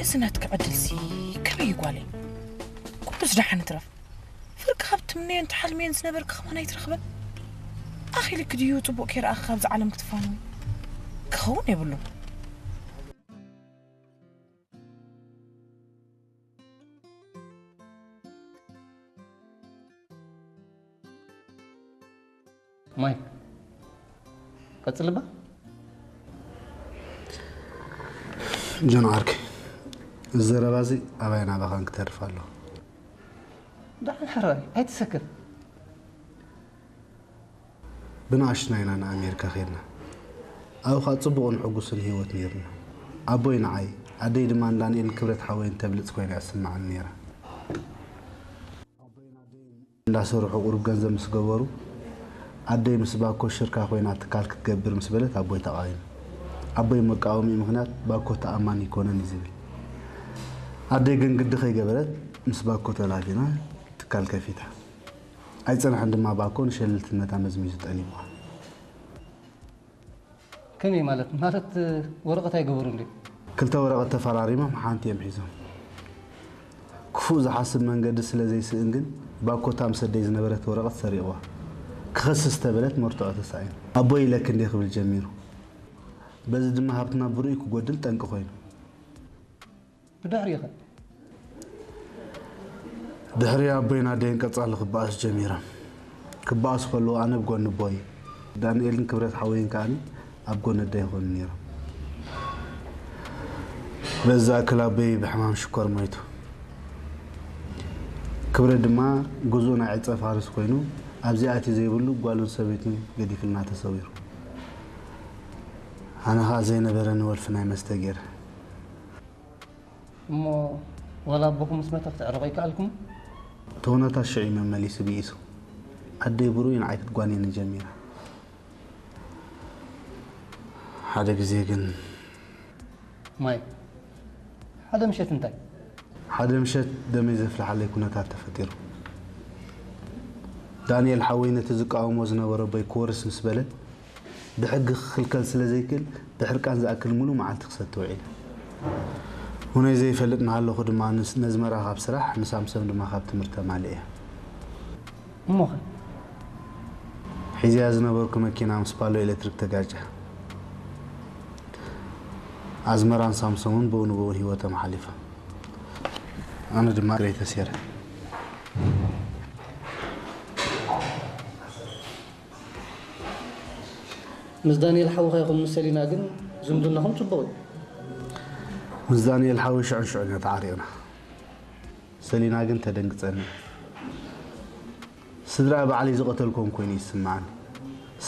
እዚ ናትኪ ዕድልሲ ከመይ እዩ ጓለይ? ኩሉስ ደሓን ይትረፍ። ፍርቂ ካብ ትምነዮን ትሓልምዮን ዝነበርኪ ከማን ኣይትረኽበን። ኣኺልኪ ድዩ ጽቡቕ ከይረኣኺ ካብዚ ዓለም ክትፋነዊ? ክኸውን የብሉን። ማይክ፣ ቀጽልባ። ጆን ዓርከይ፣ እዚ ዘረባ እዚ ኣባይ ናባኻን ክተርፍ ኣለዎ። ደሓን ሕራይ ኣይትሰክፍ። ብንኣሽቱና ኢና ንኣሜሪካ ከድና። ኣብኡ ኸኣ ጽቡቕን ሕጉስን ህይወት ነይርና። ኣቦይ ንዓይ፣ ኣደይ ድማ ንዳንኤልን ክብረት ሓወይን ተብልጽ ኮይና እያ ትስምዓኒ ነይራ። እንዳሰርሑ ቁሩብ ገንዘብ ምስ ገበሩ፣ ኣደይ ምስ ባኮ ሽርካ ኮይና ትካል ክትገብር ምስ በለት ኣቦይ ተቓዊሙ። ኣቦይ መቃወሚኡ ምኽንያት ባኮ ተኣማኒ ኣይኮነን እዩ ዝብል። ኣደይ ግን ግዲ ከይገበረት ምስ ባኮ ተላፊና ትካል ከፊታ። ኣይጸንሐን ድማ ባኮ ንሸለልትነታ መዝሚዙ ጠሊምዋ። ከመይ ማለት? ማለት ወረቐት ኣይገበሩን ድዮም? ክልተ ወረቐት ተፈራሪሞም ሓንቲ እዮም ሒዞም። ክፉእ ዝሓስብ መንገዲ ስለ ዘይስእን ግን ባኮ እታ ምስ ኣደይ ዝነበረት ወረቐት ሰሪቕዋ። ክኸስስ ተበለት መርትዖ ተሳኢኑ። ኣቦይ ኢለኪ እንድየ ክብል ጀሚሩ። በዚ ድማ ሃብትና ብርኡይ ክጎድል ጠንቂ ኮይኑ። ብድሕሪኸ? ድሕሪ ኣቦይን ኣደይን ቀጻሊ ክበኣሱ ጀሚሮም። ክበኣሱ ከለዉ ኣነ ኣብ ጎኒ ኣቦይ፣ ዳንኤልን ክብረት ሓወይን ከኣ ኣብ ጎኒ ኣደይ ይኾኑ ነይሮም። በዚ ዝኣክል ኣቦይ ብሕማም ሽኮር ሞይቱ። ክብረት ድማ ግዙእ ናይ ዕጸ ፋርስ ኮይኑ ኣብዚ ኣትዩ ዘይብሉ ጓሉን ሰበይቱን ገዲፍልና ተሰዊሩ። ኣነ ኸኣ ዘይነበረኒ ወልፊ ናይ መስተ ገይረ። እሞ ዋላ ኣቦኹም ምስ መተ ክትዕረቑ ኣይከኣልኩም? እቲ ኩነታት ሽዑ እዩ መመሊሱ ብኢሱ። ኣደይ ብርኡይ ንዓይ ክትጓንየኒ ጀሚራ። ሓደ ግዜ ግን ማይ፣ ሓደ ምሸት እንታይ? ሓደ ምሸት ደመይ ዘፍልሓለይ ኩነታት ተፈጢሩ። ዳንኤል ሓወይ ነቲ ዝቃወሞ ዝነበረ ኣቦይ ክወርስ ምስ በለ፣ ብሕጊ ክኽልከል ስለ ዘይክእል፣ ብሕርቃን ዝኣክል ሙሉእ መዓልቲ ክሰቲ ውዒለ። ሁነይ ዘይፈልጥ እናሃለኹ ድማ ንስ-፣ ነዝመራ ካብ ስራሕ፣ ንሳምሶም ድማ ካብ ትምህርቲ ኣማሊኤ። እሞኸ? ሒዘያ ዝነበርኩ መኪና ምስ ፓሎ ኤሌክትሪክ ተጋጨ። ኣዝመራን ሳምሶምን ብኡ ንብኡ ህይወቶም ሓሊፋ። ኣነ ድማ እግረይ ተሴረ። ምስ ዳንኤል ሓውኻ ይኹን ምስ ሰሊና ግን ዝምድናኹም ጽቡቕ እዩ። ምስ ዳንኤል ሓወይ ሽዑን ሽዑን ኢና ተዓሪቕና። ሰሊና ግን ተደንግጸኒ። ስድራ ባዕለይ ዝቐተልኩም ኮይኑ ይስምዓኒ።